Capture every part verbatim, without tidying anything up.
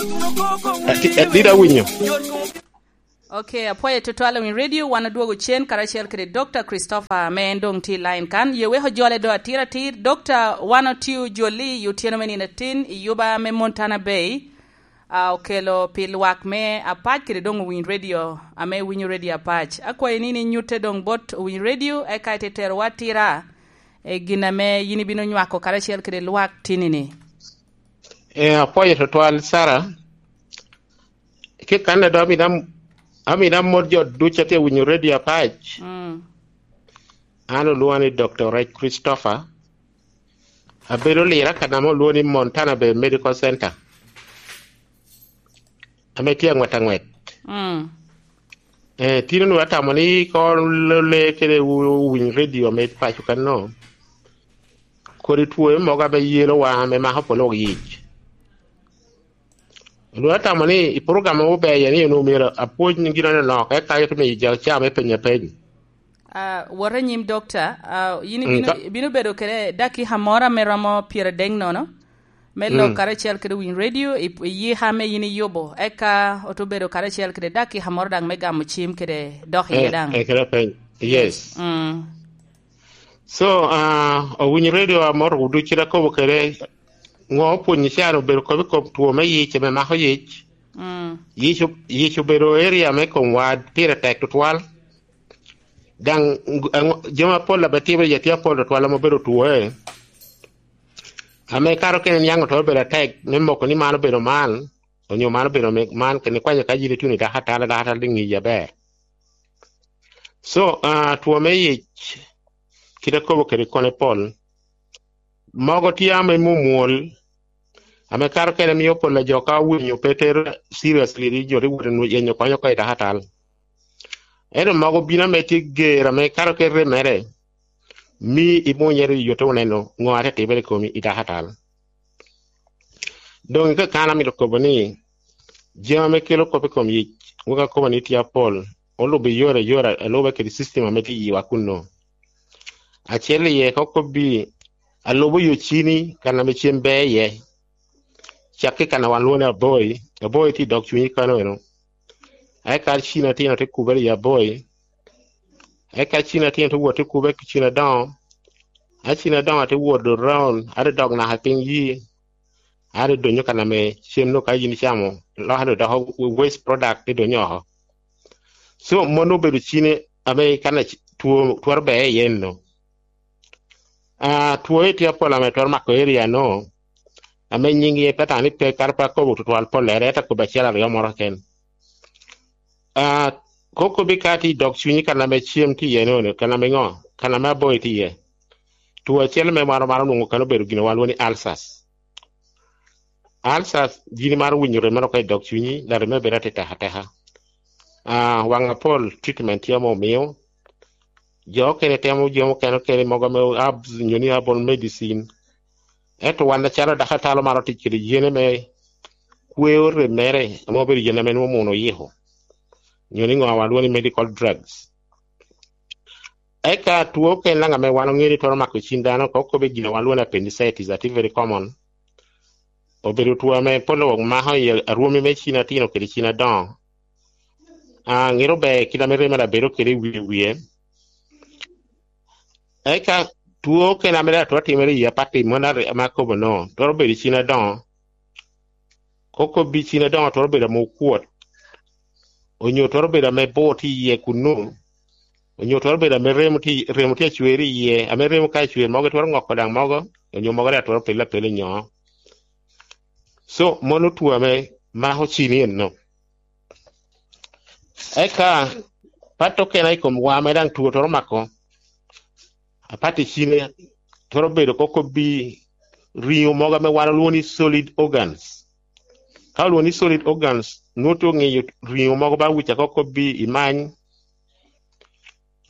Ati-, adit awinyo. Ok, apwoyo tutwal i Radio. Wan odwogo cen karacel kede Dokta Christopher ame en doŋ tye i line kan. Ye wek ojole do atir atir. Dokta, wan otio joli i otyeno me nino atin i yuba me Montana Bay, a okelo pi lwak me Apac kede doŋ owiny radio ame winyo radio Apac. Akwayi ni, ni nyutte doŋ bot owiny radio, eka ite terowa atira, e gin ame yin ibino nywako karacel kede lwak tinini. Eh, apwoyo tutwal, Sara. Kit kan a doŋ amito am-, amito amot jo ducu a tye winyo radio Apac. Mm. An olwoŋa ni Dokta Rec Christopher. Abedo lira kan ame olwoŋo ni Montana Bay Medical Center, ame tye aŋwet aŋwet. Mm. Eh, tin onwoŋo atamo ni koŋ le kede wu-, winy radio ame paco kanno, kodi two mogo ame yelo wa, ame mako polo wok yic. Onwoŋo atamo ni i program ober iye ni onwoŋo myero apwony gin anonok, eka ite miyo jo caa me penyo apeny. Ah, wot anyim, Dokta. Ah, yin Mm, ibino, ka- ibino bedo kede dakika moro ame romo pyeradek nono, me lok Mm. karacel kede winy radio, i, i yika ame yin iyubo. Eka oto bedo karacel kede dakika moro daŋ me gamo cim kede dok iye Eh, daŋ. eh, kede apeny. Yes. Mm. So, ah, owinyo radio amoro ducu kite akobo kede, ŋo opwonyo can obedo kop i kom two me yic ame mako yic. Mm. Yic o-, yic obedo area me komwa pire tek tutwal. Daŋ, aŋo-, jami apol ame timere iye tye apol tutwal ame obedo twoe. Ame kato kene niaŋ otwero bedo atek me moko ni man obedo man, onyo man obedo me-, man, kene kwanyo ka yin ituno i dakatal, dakatal dok ŋiyi aber. So, ah, two me yic, kit akobo kede kone pol, mogo tye ame mwomwol, ame kato kene mio pol a jo ka owinyo pe tero seriously, ni jo te wot i nwo-, yenyo kony oko i dakatal. Ento mogo bino ame tye ger, ame kato kene remere, mi imunyere i yote oneno ŋo ate timere i komi i dakatal. Doŋ i kakana amito kobo ni, jami ame kelo kop i kom yic, wek akobo ni tye apol, olubo i yore ayore, alube kede system ame tye i yiwa kunno. Acel iye, ka okobbi, alubo yo cini, kan ame cem ber iye. Cak i kan a wan lwongo ni Aboi, Aboi tye i dog cunyi kano eno. Eka cini atino te kubere i Aboi. Eka cini atino te wot te kube ki cini adoŋo. A cini adoŋo te wot around, a te dok naka piny yi. A te donyo kan ame cem no ka yin icamo, lok a te doko waste product te donyo oko. So, mano obedo cini ame kan a c-, two, twero ber iye eno. Ah, two tye apol ame twero mako area no, ame nying ye pe tani pe, kara pe akobo tutwal pollere, ento akobo acel aryo moro keken. Ah, kokobi ka tye i dog cunyi kan ame cem tye iye no, kan ame ŋo? Kan ame Aboi tye iye. Two acel me maro maro nwoŋo kan obedo gin wan lwongo ni ulcers. Ulcers, yin imaro winyo remo oko i dog cunyi, dok remo bedo atek ateka. Ah, waŋ apol treatment tye ame omio. Jo okene temo jo mukene okene mogo ame herbs, nyo ni herbal medicine. Ento wan acalo dakatal omaro tic kede yene me kweo rem mere, ame obedo yen ame nwoŋo mono oyiko. Nyo ni ŋo wan lwongo ni medical drugs. Eka two okene daŋ ame wan oŋeo ni twero mako cin dano, ka okobe gin a wan lwongo ni appendicitis, atye very common. Obedo two ame pol wok mako i arwumi me cin atino kede cin adoŋo. Ah, ŋero ber kit ame remo daŋ bedo kede i wie wie. Eka two okene ame daŋ twero timere i apatti, mano are-, ame akobo no, twero bedo i cin adoŋo. Kokobi cin adoŋo twero bedo ame okwot. Onyo twero bedo ame bor tye iye kunnu. Onyo twero bedo ame remo tye, remo tye acwer iye, ame remo ka acwer mogo twero ŋoko daŋ mogo, onyo mogo daŋ twero pelle apela i nyoo. So, mano two ame mako cini eno. Eka, pat okene i kom wa ame daŋ two twero mako, apat i cine, twero bedo kokobi riŋo mogo ame wan olwongo ni solid organs. Ka olwongo ni solid organs, nwoŋo tye oŋeyo riŋo mogo ba wica kokobi i many,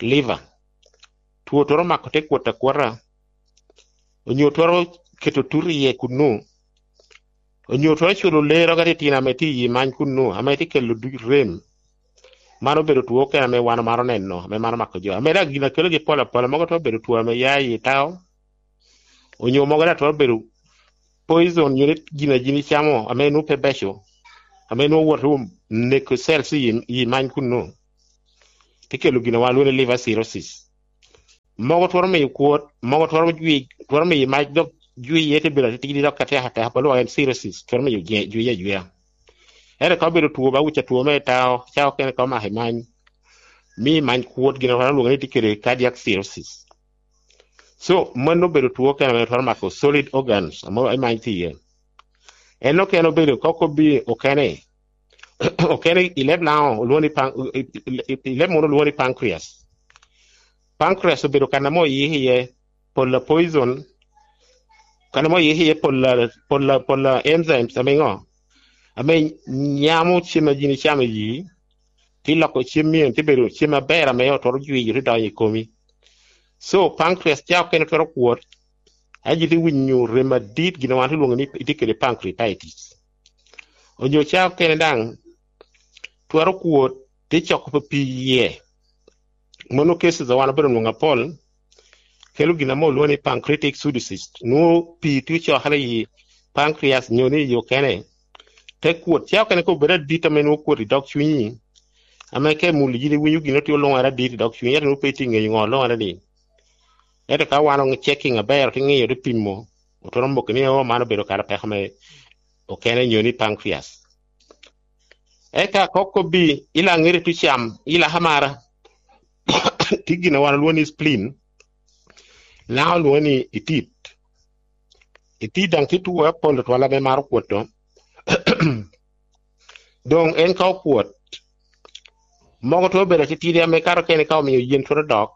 liver. Two twero mako te kwot akwota, onyo twero keto tut iye kunnu, onyo twero culo ler oko titino ame tye i many kunnu, ame tye kelo duc rem. Man obedo two okene ame wan omaro neno, ame man omako jo. Ame daŋ gin a kelogi pol apola, mogo twero bedo two ame ya i tao, onyo mogo daŋ twero bedo poison, nyo ni gin a yin icamo ame nwoŋo pe beco. ame nwoŋo wot wum neko cells i, i many kunnu, te kelo gin a wan lwongo ni liver cirrhosis. Mogo twero miyo kwot, mogo twero jwi, twero miyo mac dok jwiye te bedo atitidi dok atek ateka, pa lwak en cirrhosis, twero miyo jwi ajwiya. Ento ka obedo two ba wic atwo me tao, ca okene ka omako i many, mi many kwot, gin a wan olwongo ni tye kede cardiac cirrhosis. So mano obedo two okene ame twero mako solid organs ame i many tye iye. En okene obedo kok obi okene, okene i leb Laŋo olwongo ni pan-, i, i, i, i leb munu olwongo ni pancreas. Pancreas obedo kan ame oyik iye pola poison, kan ame oyik iye pola, pola, pola enzymes ame ŋo? Ame nyamo cem a yin icamo i yi, te loko cem myero te bedo cem aber ame otwero jwiyo te donyo i komi. So pancreas ca okene twero kwot, aye te winyo rem adit, gin a wan te lwongo ni itye kede pancreatitis. Onyo ca okene daŋ twero kwot te coko pe pii iye. Mano cases a wan obedo nwoŋo apol, kelo gin ame olwongo ni pancreatic pseudocyst. Nwoŋo pii tye ocokere i pancreas nyo ni i okene, te kwot. Ca okene ka obedo adit ame nwoŋo kwot i dog cunyi, ame ka imulo yin iwinyo gin otye olwoŋere adit i dog cunyi, ento nwoŋo pe itye ŋeyo ŋo olwoŋere ni. Ento ka wan oŋ checking aber, te ŋeyo, te pimo, otwero moko ni, "Oh, man obedo kara peko me okene nyo ni pancreas." Eka kok kobbi, ila ŋeri tu cam, ila hamara, tye gin a wan olwongo ni spleen, Laŋo olwongo ni itit. Itit daŋ tye two apol twal ame maro kwot to. Doŋ en ka okwot, mogo twero bedo atitidi ame kato kene ka omiyo yen twero dok.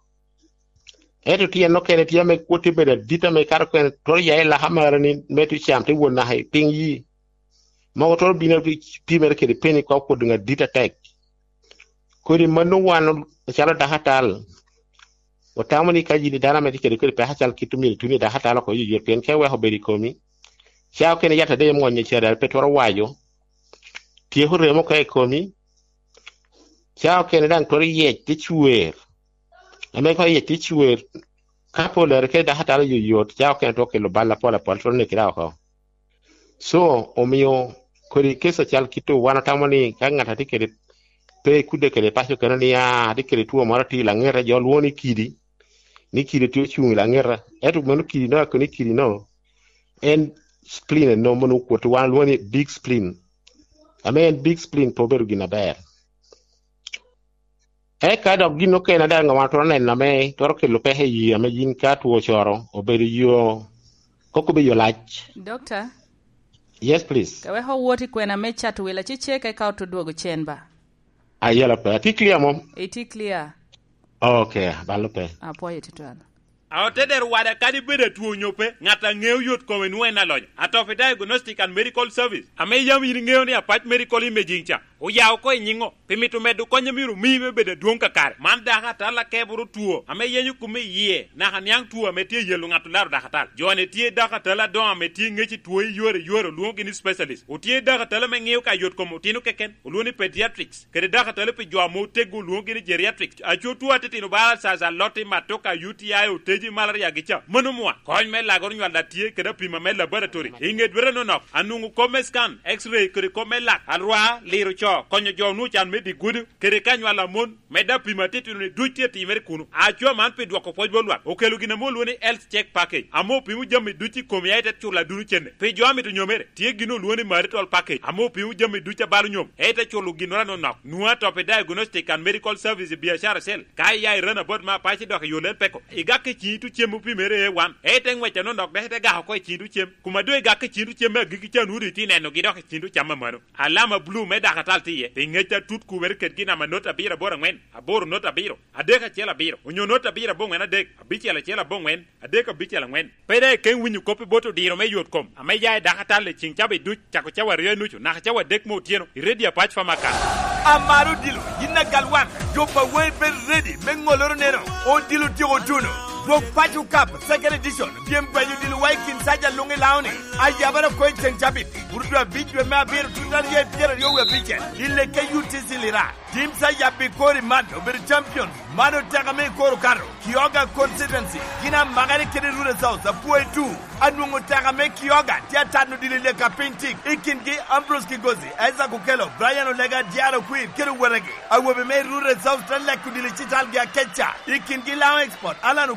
Ento tyen okene tye ame kwot tye bedo adit ame kato kene twero ya i laka mara ni me tu cam te wot naka i piny yi. Mogo twero bino pi, pimere kede peni ka okwot doŋ adit atek. Kodi mano wan acalo dako atal, otamo ni ka yin i dano ame tye kede, kede peko acal kit omyero ituni i dako atal oko yoyot, pien ka iweko obedo i komi, ca okene yat ade imwonyo ca dal pe twero wayo, tyeko remo ka i komi, ca okene daŋ twero yec te cwer. Ame ka yec te cwer, ka pe olere kede dako atal yoyot, ca okene twero kelo bal apol apol, twero neki dako oko. So, omio kodi keca cal kit-tu, wan otamo ni ka ŋat a tye kede, pe ikudde kede paco kene ni, "Ah, atye kede two moro atir i laŋeta," jo lwoŋo ni kidi, ni kidi tye ocuŋ i laŋeta. Ento mano kidi no, ako ni kidi no, en spleen eno mano okwot, wan lwoŋo ni big spleen. Ame en big spleen pe obedo gin aber. Eka dok gin okene daŋ wan twero neno ame twero kelo peko i yie ame yin ka two ocoro obedo yo, kok obedo yo lac. Dokta? Yes, please. Ka wek owot i kwena me Chatwila, ci cek eka oto dwogo cen ba. Ayela pe. Atye clear mom? Itye clear. Okay, balo pe. Apwoyo tutwal. A otedero wada kadi bedo atwo onyo pe, ŋat a ŋeo yot kome nwoŋo en alonyo. Atofi Diagnostic and Medical Service, ame yam yin iŋeo ni Apac Medical Imaging ca, oya oko i nyiŋo, pi mito medo kony a myero omii me bedo adwoŋ kakare. Man dako atal akeboro two, ame yenyo kome i yie, naka niaŋ two ame tye yelo ŋat olaro dako atal. Jo-ni tye dako atal adoŋo ame tye ŋec i two i yore i yore, olwoŋogi ni specialist. Otye dako atal ame ŋeo ka yot kom otino keken, olwoŋo ni pediatrics. Kede dako atali pi jo ame otego, olwoŋogi ni geriatric. Aco two atitino bala caca, lotti, matoka, U T I, oteji, malaria gi ca. Mano mwa. Kony me lagoro nywal daŋ tye kede apima me laboratory. I ŋe dwete nonok, anwoŋo kop me scan, X-ray, kede kop me lak, alwar, liro co, konyo jo onwoŋo can me dye gudo, kede ka nywal amon, medde apima atitino ni duc tye timere kuno. Aco man pi dwoko pwoc bot lwak, okelo gin ame olwoŋo ni health check package, ame opimo jami duc i komi, aye te culo aduno cene. Pi jo amito nyomere, tye gin olwoŋo ni marital package, ame opimo jami duc a balo nyom, ete culo ginnoro anonok. Nwoŋo atop i Diagnostic and Medical Service i biacara cell. Ka iya i Runabout me Apac, idok i yo Lel Peko, igak i ciŋi tucem opimere A one, ete ŋwec anonok dok ite gak oko i ciŋi tucem. Kuma doŋ igak i ciŋi tucem me agikki ca, nwoŋo doŋ itye nenogi dok i ciŋi tucam amano. Alama blue me dako atal tye iye, pi ŋec atut kubere kedgi, namba not abiro aboro aŋwen, aboro not abiro, adek acel abiro, onyo not abiro aboŋwen adek, abicel acel aboŋwen, adek abicel aŋwen. Pe daŋ ikeŋ winyo kop i bot odiro me yot kom ame ya i dako atal i ciŋ cawa duc, cako cawa aryo i nucu naka cawa adek me otyeno, i Redio Apac Pharmacan. Amaro odilo, yin agal wan, jo pa waŋi bedo ready me ŋolloro neno, odilo tyeko tuno. Gwok Paco Cup Second Edition, pyem gwenyo odilo wa i kin saja luŋ i Laoni, ayabara oko i ceŋ cabit, Burudwa abic dwe me abiro, tuta rye pyeraryo wie abicel, i lekke U T C Lira. Tim sa yabbi kori man obedo champion, man oteka me i kor okato, Kioga Constituency, gin amakere kede Rural South, apwoyo tu, anwoŋo oteka me Kioga, tye atano odilo i leka piny tik, i kingi Ambrose Kigozi, Isaac Okello, Brian Olega, Diaro Queen, kede owetegi. Awobe me Rural South te leko odilo i citalgi akeca, i kingi Lao Export, Alan